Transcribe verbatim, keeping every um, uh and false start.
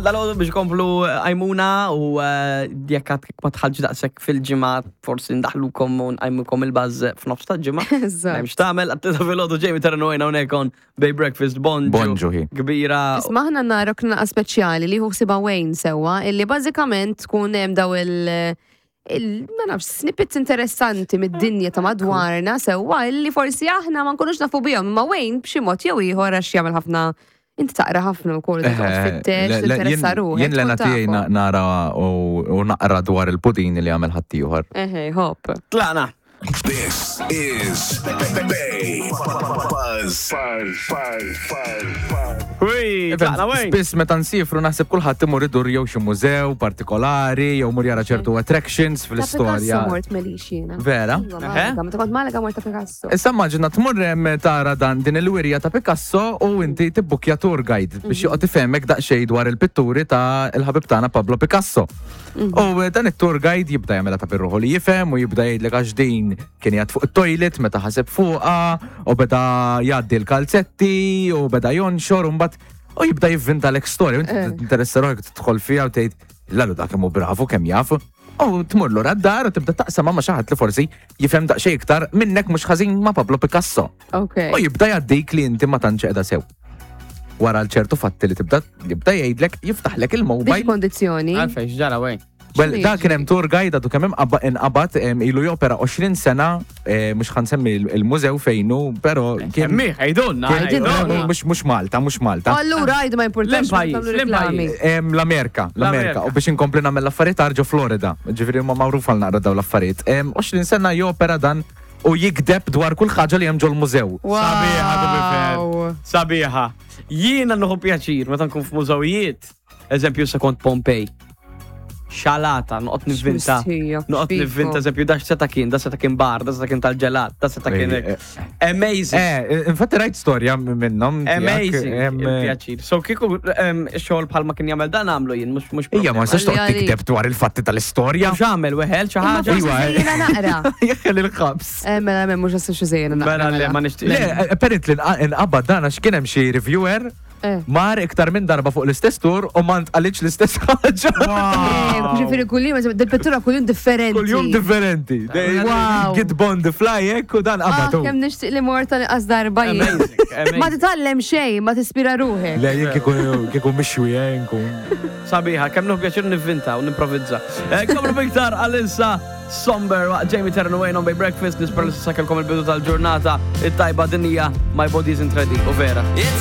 Dalgħodu biex komplu għajmuna u eh, jekk għad ma tħallġ daqshekk fil-ġimgħa, forsi ndaħlukom u nqajmukom il-buzz f'nofs ta' ġimgħa. Eżatt. M'hemmx tagħmel, għattita filgħodu, Jamie Terreno hawnhekk on Bay Breakfast. Bonġu. Bonġu, hi. Kbira. Isma', ħna narok naqa speċjali li ħsiba Wayne sewwa, illi bażikament tkun hemm daw il- il ma nafx, snippets interessanti mid-dinja ta' madwarna sewwa, illi forsi aħna ma nkunux nafu bihom, imma Wayne b'xi mod jew ieħor, għax jagħmel ħafna, inti taqra ħafna wkoll, toqgħod tfittex, tinteressa ruħek. Jien l-għena tkun tiegħi tafhom. na- nara u u naqra dwar il-pudini li għamel ħaddieħor. Eħe, hop. Tlaqna. This is Bay Buzz. Buzz. Buzz. Buzz. Ui, tlaqna, Wayne. Spiss meta nsifru naħseb kulħadd imur idur jew xi mużew partikolari jew mur jara ċertu attractions Ta' fl-istorja. Picasso mort melix jiena. Vera? Iva, Malaga, meta kont Malaga mort ta' Picasso. Issa immaġina tmur hemm tara dan din il-wirja ta' Picasso u inti tibbukja tour guide biex joqgħod ifehmek daqsxejn dwar il-pitturi ta' il-ħabib tagħna Pablo Picasso. U eh, dan it-tour guide jibda jagħmilha ta' birruħu li jifhem u jibda jgħidlek għax din kien jgħad fuq it-toilet meta ħaseb fuqha u beda jgħaddi l-kalzetti u beda jonxor u mbagħad u jibda jivvinta l storja u inti Eh. tinteressa ruħek, tidħol fiha u tgħid, "Lalu dak kemm hu bravu, kemm jaf." U tmur lura d-dar u tibda taqsam ma' xi ħadd li forsi jifhem daqsxejn iktar minnek mhux ħażin ma' Pablo Picasso. Ok. U jibda jgħaddik li inti ma tantx qiegħda sew. Wara l-ċertu fatti li tibda jibda jgħidlek, jiftaħlek Biex il-mobile. kondizzjoni. Għalfejn, x'ġara, Wayne? Well, X'inhu da jiġri? kien hemm tour guide għadu kemm hemm qabba- inqabad em, ilu jopera għoxrin sena, eh, mhux ħa nsemmi il-mużew fejnu, però kien Kemmiħ, għidulna. kien- Għidulna. mhux mhux Malta, mhux Malta. Allura għajdu, ma importax. L-pajjiż, nagħmlu reklami. l-pajjiż. Em, L-Amerika, l-Amerika. L-Amerika. U biex inkompli nagħmel l-affarijiet ġo Florida. Ġifieri huma magħruf għal naqra dawn l-affarijiet. Em, għoxrin sena jopera dan u jikdeb dwar kull ħaġa li hemm ġol mużew. Sabiħa, to be fair. Wow. Sabiħa. Jiena nieħu pjaċir meta nkun f'mużewijiet. Eżempju, se kont Pompej. Xalata, noqgħod nivvinta. X'mistħija, Noqgħod x'fiku. nivvinta, eżempju, da seta kien, da seta kien bar, da seta kien tal-ġelat, da seta kien Eh, Amazing. Eh, infatti rajt storja minnhom tiegħek, Amazing. em, Il-pjaċir. So kieku em, xogħol bħalma kien jagħmel dan għamlu jien, mhux mhux Ija, ma nistax toqgħod Għalli tikdeb dwar il-fatti tal-istorja. Mhux għamel weħel xi Imma ħaġa. forsi Iwa, eh. żejjina naqra. Jeħel il-ħabs. Eh, mela, mela, mhux għassu xi żejjina naqra. Mela le, mela. ma nixtieq. Le, apparently inqabad dan għax kien hemm xi reviewer Eh. mar iktar minn darba fuq l-istess tour u ma ntqalitx l-istess ħaġa. Eh, Ġifieri kuljum, dil-pittura kuljum differenti. Kuljum differenti. Wow. Get on the fly hekk u dan Ah, qabadu. kemm nixtieq li mort tal-inqas darba jien. Amazing, Ma amazing. titgħallem xejn, ma tispira ruħek. Le, jien kieku kieku mixwi eh, nkun. Sabiħa, kemm nieħu pjaċir nivvinta u nimprovizza. Eh, Komplu biktar għal-insa Somber waqt Jamie Terran Wayne on Bay Breakfast. Nispera li sakelkom il-bidu tal-ġurnata it-tajba. Dinija My Body Isn't Ready u vera. It's